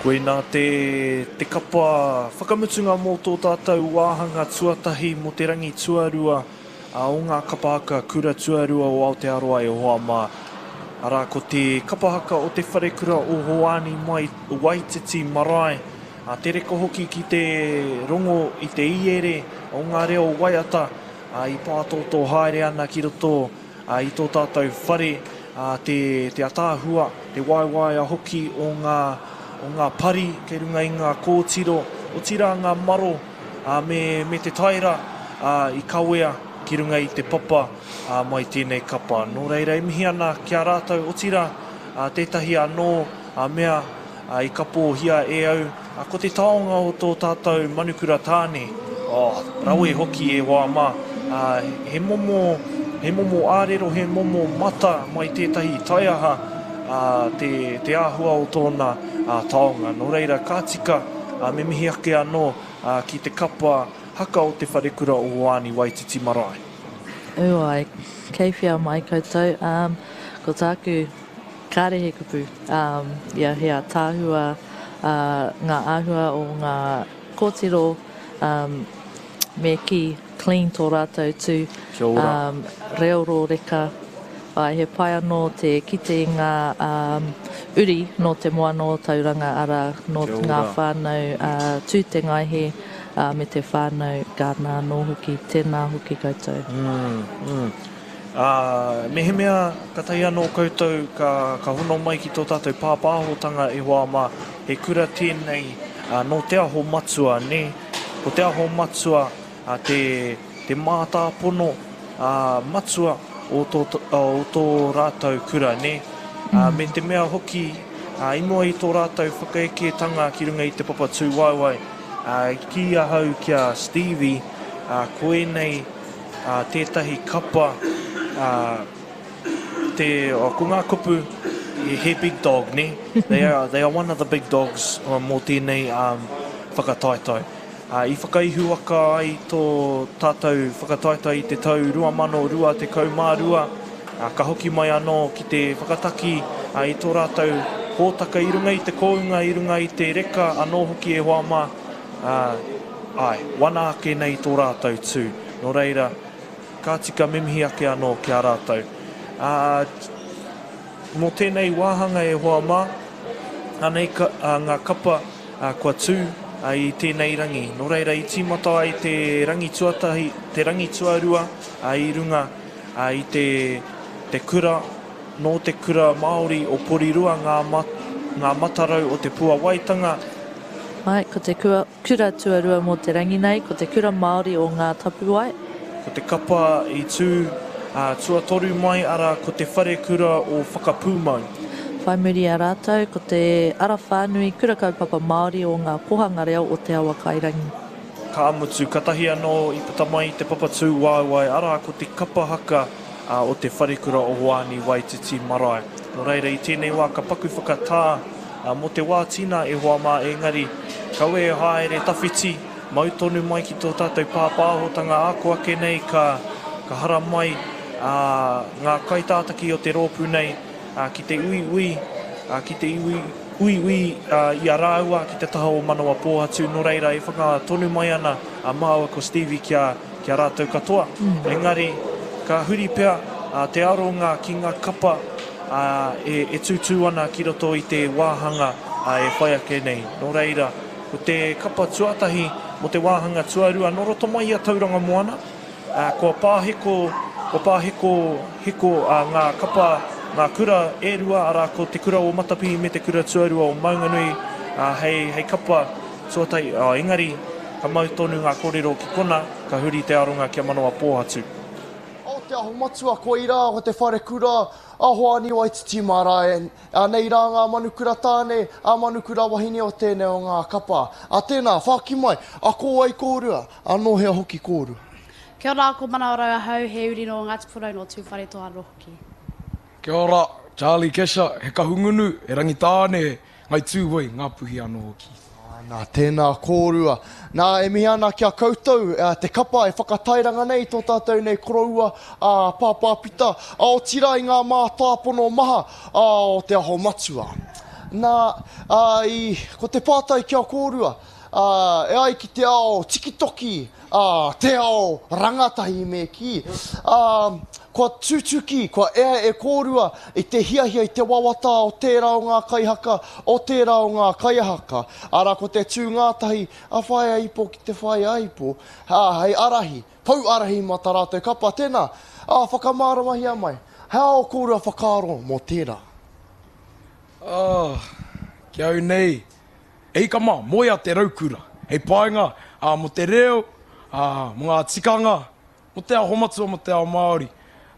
Koinā te, te kapa whakamutunga mō tō tātou wāhanga tuatahi mō te rangi tuarua o ngā kapa haka kura tuarua o Aotearoa e hoa mā. Arā, ko te kapa haka o te wharekura o Hoani mai Waititi Marae, a te reka hoki ki te rongo i te iere o ngā reo waiata i pātōtō haere ana ki roto i tō tātou whare, te, te ataahua, te waewaea hoki o ngā, o ngā pari kei runga i ngā kōtiro, otirā ngā maro, ā, me, me te taera, ā, i kawea ki runga i te papa, ā, mai tēnei kapa. Nō reira, e mihi ana ki a rātou, otirā, ā, tētahi anō, ā, mea, ā, i kapohia e au, ā, ko te taonga o tō tātou manukura tāne, oh, rawe hoki e hoa mā, ā, he momo, he momo ārero, he momo mata mai tētahi taiaha, ā, te, te āhua o tōna, ā, taonga. Nō reira, ka tika, ā, me mihi ake anō, ā, ki te kapa haka o te wharekura o Hoani Waititi Marae. Ū ai, kei whea mai koutou, ā, ko tāku Kāre he kupu, ā, ia he ātaahua, ā, ngā āhua o ngā kōtiro, ā, me kī, clean tō rātou tū, Kia ora. ā, reo rōreka, āe, he pai anō te kite i ngā, ā, uri nō te moana o Tauranga, arā, nō Kia ngā ora. whānau, ā, Tūtengaehe, ā, me te whānau Gardiner anō hoki. Tēnā hoki koutou. Mm, mm. Ā, mehemea katahi anō koutou ka, ka hono mai ki tō tātou pāpāhotanga e hoa mā, he kura tēnei nō Te Aho Matua, nē? Ko Te Aho Matua te, te mātāpono matua o tō, o tō rātou kura, nē? Ā, me te mea hoki, i mua i tō rātou whakaeketanga ki runga i te papa tūwaewae, ā, i kī ahau ki a Stevie, ā, koinei, ā, tētahi kapa, ā, te, ko ngā kupu, he big dog, nē? They are, they are one of the big dogs mō tēnei whakataetae. Ā, i whakaihuwaka ai tō tātou whakataetae i te tau 2022, ā, ka hoki mai anō ki te whakataki i tō rātou hōtaka i runga i te kounga, i runga i te reka anō hoki e hoa mā, ā, āe, wana ake nei tō rātou tū. Nō reira, ka tika me mihi ake anō ki a rātou. Ā, mō tēnei wāhanga e hoa mā, anei ka, ā, ngā kapa, ā, kua tū, ā, i tēnei rangi. Nō reira, i tīmata ai te rangi tuatahi, te rangi tuarua, ā, i runga, ā, i te, te kura, nō te kura Māori o Porirua ngā, ngā matarau o te puawaitanga, Āe, ko te kura tuarua mō te rangi nei, ko te Kura Māori o Ngā Tapuwae. Ko te kapa i tū tuatoru mai, arā, ko te Wharekura o Whakapūmau. Whai muri i a rātou, ko te Ara Whānui Kura Kaupapa Māori o Ngā Kohanga Reo o Te Awakairangi. Ka mutu, katahi anō i puta mai i te papa tūwaewae, arā, ko te kapa haka o te Wharekura o Hoani Waititi Marae. Nō reira, i tēnei wā ka paku whakatā Mō te wā tina e hoa mā engari kaua e haere tawhiti, mau tonu mai ki tō tātou pāpāhotanga ako ake nei ka ka haramai ngā kaitātaki o te rōpū nei ki te uiui, ki te iwi uiui i a rāua ki te taha o Manawa Pōhatu nō reira e whanga tonu mai ana a māua ko Stevie ki a ki a rātou katoa. Engari ka huri pea te aronga ki ngā kapa ā, e, e tūtū ana ki roto i te wāhanga e whai ake nei. Nō reira, ko te kapa tuatahi mō te wāhanga tuarua nō roto mai i a Tauranga Moana, ā, kua pāheko, kua pāheko hiko ā, ngā kapa, ngā kura e rua, arā, ko te kura o Matapihi me te kura tuarua o Maunganui, ā, hei, hei kapa tuatahi, ā, engari, ka mau tonu ngā kōrero ki kona, ka huri te aronga kia manawa pōhatu. O Te Aho Matua, koirā ko te wharekura a Hoani Waititi Marae. Anei rā ngā manukura tāne, ā manukura wahine o tēnei o ngā kapa. A tēnā, whāki mai, a ko wai kōrua, a nō hea hoki kōrua? Kia ora, ko Manawarau ahau, he uri nō Ngāti Porou, nō Tūwharetoa anō hoki. Kia ora, Charlie Kesha, he Kahungunu, he Rangitāne, Ngai Tūhoe, Ngāpuhi anō hoki. Nā, tēnā kōrua. Nā, e mihi ana ki a koutou, te kapa e whakatairanga nei i tō tātou nei koroua, a Pāpā Pita, a otirā i ngā mātāpono maha o Te Aho Matua. Nā, ā, i, ko te pātai ki a kōrua, ā, e ai ki te ao tikitoki, ā, te ao rangatahi me kī, ā, kua tutuki, kua ea e kōrua i te hiahia, i te wawata o tērā o ngā kaihaka, o tērā o ngā kaiahaka, arā, ko te tū ngātahi a Whaea Ipo ki te Whaea Ipo, ā, hei ārahi, pou ārahi mā tā rātou kapa, tēnā, ā, whakamāramahia mai, he aha ō kōrua whakaaro mō tērā? Ā, ki au nei, e hika mā, moea te raukura, hei painga, ā, mō te reo, ā, mō ngā tikanga, mō te aho matua, mō te ao Māori.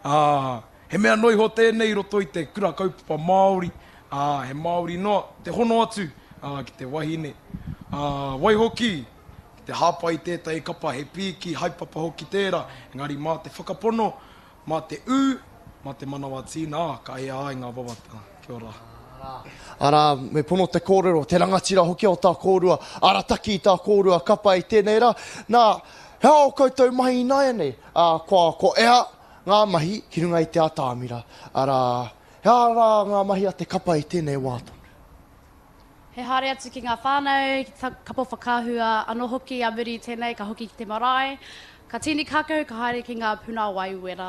Ā, he mea noa iho tēnei i roto i te kura kaupapa Māori, ā, he Māori noa te hono atu, ā, ki te wahine. Ā, waihoki, ki te hāpai i tētahi kapa he pīki, haepapa hoki tērā, engari mā te whakapono, Mā te ū, mā te manawa tīna, ka ea ai ngā wawata. Kia ora. Arā, me pono te kōrero, te rangatira hoki o tā kōrua arataki i tā kōrua kapa i tēnei rā. Nā, he aha ō koutou mahi ināianei? Ā, kua, kua ea ngā mahi ki runga i te atamira. Arā, he aha rā ngā mahi a te kapa i tēnei wā tonu? He haere atu ki ngā whānau, ki te kapo whakaahua anō hoki a muri i tēnei, ka hoki ki te marae, ka tīni kākahu, ka haere ki ngā puna wai wera.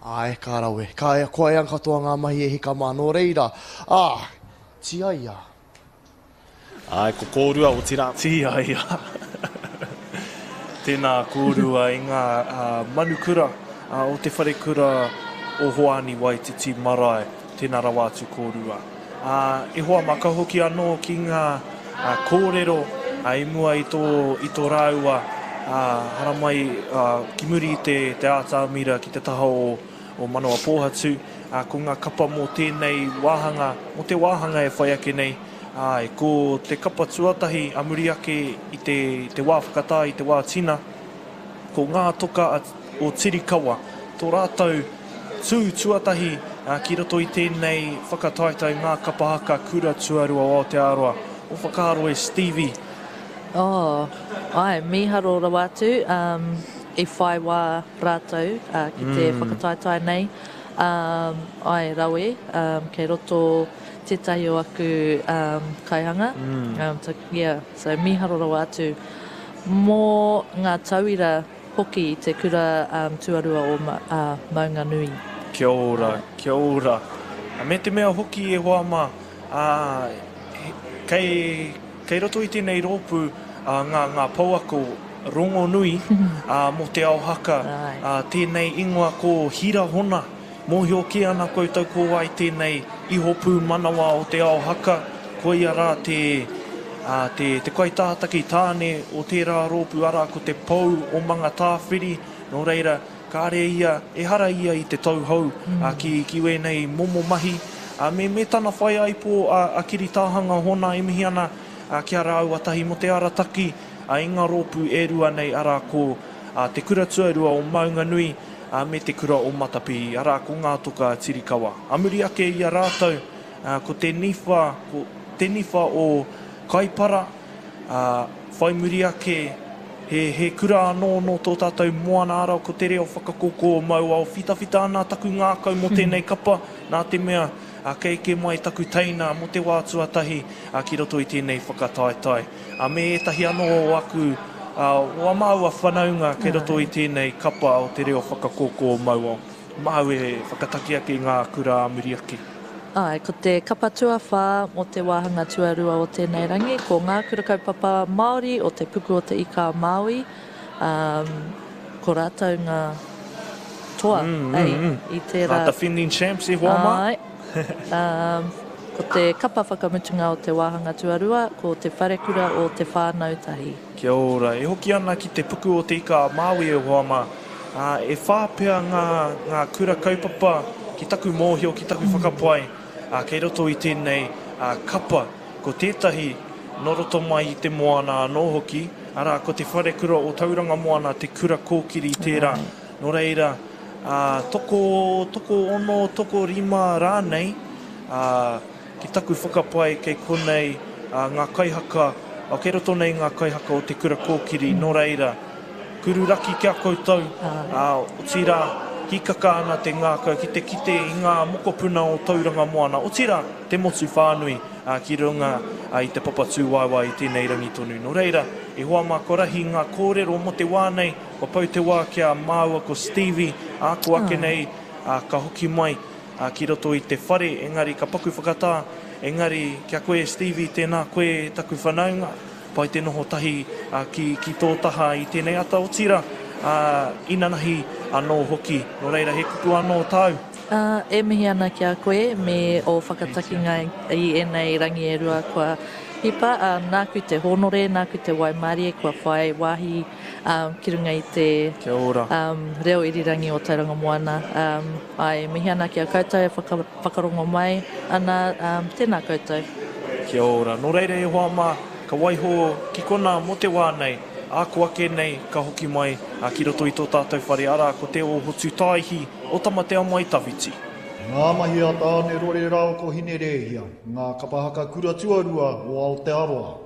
Āe, ka rawe. Ka ea, kua ea katoa ngā mahi e hika mā, nō reira, ā, tiaia. Āe, ko kōrua, otirā. Tiaia. Tēnā kōrua i ngā manukura o te wharekura o Hoani Waititi Marae. Tēnā rawa atu kōrua. Ā, e hoa mā, ka hoki anō ki ngā kōrero i mua i tō, i tō rāua haramai ki muri i te, te ātamira ki te taha o, o Manawa Pōhatu, ā, ko ngā kapa mō tēnei wāhanga, mō te wāhanga e whai ake nei, āe, ko te kapa tuatahi a muri ake i te, i te wā whakatā, i te wā tina, Ko ngā toka o Tirikawa tō rātou tū tuatahi ki roto i tēnei whakataetae Ngā Kapa Haka Kura Tuarua o Aotearoa. Ō whakaaro e Stevie? Oh, āe, mīharo rawa atu, i whai wā rātou ki te whakataetae nei. Āe, rawe, kei roto tētahi o aku kaihanga, yeah, so mīharo rawa atu. Mō ngā tauira hoki i te kura tuarua o Maunganui. Kia ora, kia ora. Me te mea hoki e hoa mā, kei, kei roto i tēnei rōpū ngā, ngā pouako rongonui mō te ao haka, tēnei ingoa ko Hira Hona. Mōhio kē ana koutou ko wai tēnei iho pūmanawa o te ao haka, koia rā te, ā, te, te kaitātaki tāne o tērā rōpū, arā, ko te pou o Mangatāwhiri, nō reira, kāre ia, ehara ia i te tauhou, ā, ki, ki wēnei momo mahi, ā, me, me tana whaiāipo a, a Kiri Tāhanga Hona e mihi ana, ā, ki a rāua tahi mō te arataki, ā, i ngā rōpū e rua nei, arā, ko, ā, Te Kura Tuarua o Maunganui, ā, me te kura o Matapihi, arā, ko Ngā Toka a Tirikawa. Ā muri ake i a rātou, ā, ko te niwha, ko te niwha o Kaipara, ā, whai muri ake, he, he kura anō nō tō tātou moana ara, ko te reo whakakoko o Mauao. Whitawhita ana taku ngākau mō tēnei kapa, nā te mea, ā, kei eke mai taku teina mō te wā tuatahi, ā, ki roto i tēnei whakataetae. Ā, me ētahi anō o aku, ā, o ā māua whanaunga kei roto i tēnei kapa o te reo whakakōkō o Mauao. Māu e whakataki ake i ngā kura ā muri ake. Āe, ko te kapa tuawhā mō te wāhanga tuarua o tēnei rangi, ko Ngā Kura Kaupapa Māori o Te Puku o Te Ika a Māui, ā, ko rātou ngā toa, ei, i tērā. Ngā defending champs e hoa mā. Āe. Ā, ko te kapa whakamutunga o te wāhanga tuarua, ko Te Wharekura o Te Whānau Tahi. Kia ora. E hoki ana ki te puku o Te Ika a Māui e hoa mā. Ā, e whā pea ngā, ngā kura kaupapa ki taku mōhio, ki taku whakapae, ā, kei roto i tēnei, ā, kapa. Ko tētahi, nō roto mai i te moana anō hoki, arā, ko Te Wharekura o Tauranga Moana te kura kōkiri tērā. Nō reira, ā, toko, tokoono, tokorima rānei, ā, ki taku whakapae kei konei, ā, ngā kaihaka, ā, kei roto nei ngā kaihaka o te kura kōkiri, nō reira, kuru raki ki a koutou, ā, otirā, Hīkaka ana te ngākau ki te kite i ngā mokopuna o Tauranga Moana, otirā, te motu whānui, ki runga i te papa tūwaewae i tēnei rangi tonu. Nō reira, e hoa mā kua rahi ngā kōrero mō te wā nei, kua pau te wā ki a māua ko Stevie, ā, ko ake nei, ka hoki mai ki roto i te whare, engari ka paku whakatā, engari kia koe e Stevie, tēnā koe e taku whanaunga. Pai te noho tahi ki, ki tō taha i tēnei ata, otirā, inanahi anō hoki. Nō reira, he kupu anō tāu? E mihi ana ki a koe me ō whakatakinga i ēnei rangi e rua kua hipa. Nāku te hōnore, nāku te waimarie kua whai wāhi ki runga i te Kia ora. reo irirangi o Tauranga Moana. Āe, e mihi ana ki a koutou e whakarongo mai ana, tēnā koutou. Kia ora. Nō reira e hoa mā, ka waiho ki konā mō te wā nei, ā ko ake nei ka hoki mai ki roto i tō tātou whare, arā ko Te Ōhotu Tāihi o Tamatea Mai Tawhiti. Ngā mahi a Tāne Rore rāua ko Hine Rēhia, ngā kapa haka kura tuarua o Aotearoa.